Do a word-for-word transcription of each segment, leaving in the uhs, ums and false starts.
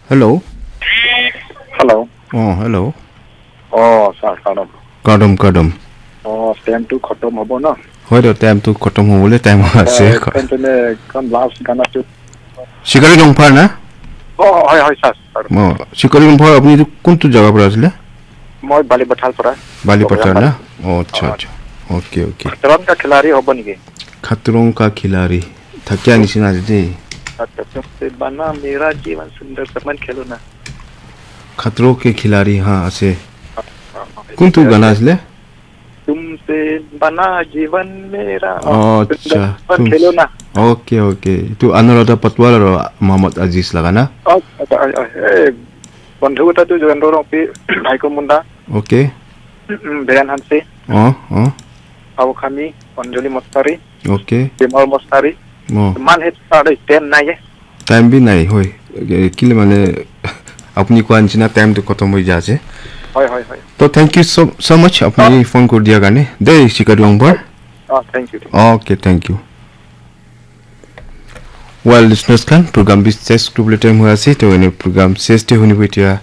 Hello. Hello. Oh, hello. Oh, sir, hello. Kadam, kadam. Oh, time to khatam hobo na. Hoy to time to khatam hobole time ase. Time to ne kan last gana to. Shikari Longphar na? Oh, hoy, hoy, sir. sir. Oh, Shikari Longphar apni tu kuntu jaga para asile? Moi Bali Bathal para. Bali Pathar na? Oh, acha acha. Okay, okay. Khatam ka khilari hobo niki? Khatrong ka khilari. Thakia nisina ase de. Acha, tumse bana mera jeevan sundar saman khelo na. Khatro ke khilari ha ase. Kuntu gana asile? Tumse bana jeevan mera. Oh, acha. Saman khelo na. Okay, okay. Tu Anuradha Patwal aro Mohammad Aziz laga na? Oh, acha, acha, eh, bondhu kota tu Jogendo Rongpi, bhai ko munda, Okay. mm, Beyan Hanse, Oh, oh. Abu Khami, Anjali Mostari, Okay. Bimal Mostari. Oh. Man het sare ten na ye. Time bi nai hoi. Eh, kile mane apni koa nisina time to khatam hoi ja ase. Hoy, hoy, hoy. To thank you so so much apni phone kuri dia karne. De Shikari Longphar. Oh, thank you. Okay, thank you. Well, listeners khan, program bi ses kuribole time hoi ase. To ene program ses te hunibo etia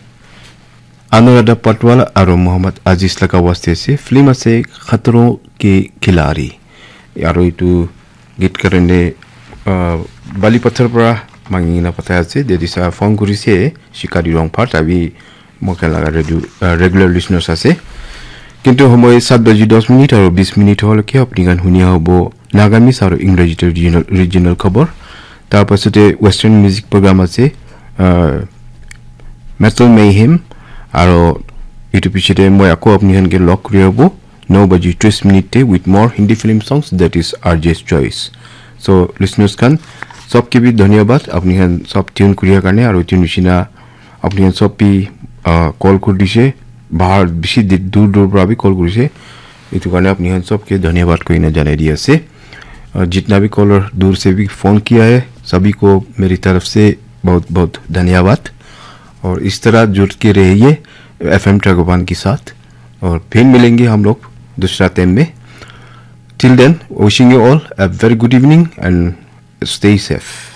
Anuradha Patwal aro Mohammad Aziz laga waste ase. Film ase Khatro ke Khilari. Aro itu git karne uh, Bali Pathar para mangi na patai ase. Dedi sa phone kurise Shikari Longphar tabi moikhan laga regu- uh, regular listeners ase. Kintu homoi sat baji dos minute aro bis minute hole ke apni khan hunia hobo Nagamese aro English regional, regional khobor. Tar pasate Western music program ase. Uh, Metal Mayhem aro itu pichete moi ako apni khan ke log kuri hobo no baji tris minute te with more Hindi film songs, that is R J's choice. So listeners khan, sob ke bhi dhanyabad apni khan sob tune kuriya karne aro tune nishina apni khan sob bhi uh, call kuri dise, bahar bishi di- dur dur pra bhi call kurise. Itu karne apni khan sob ke dhanyabad koina janai di ase. Uh, jitna bhi caller dur se bhi phone kiya hai, sabhi ko meri taraf se bahut bahut dhanyabad. Aur is tarah jud ke rahiye F M Tragoban ke saath. Aur phir milenge hum log dusra time mein. Till then, wishing you all a very good evening and stay safe.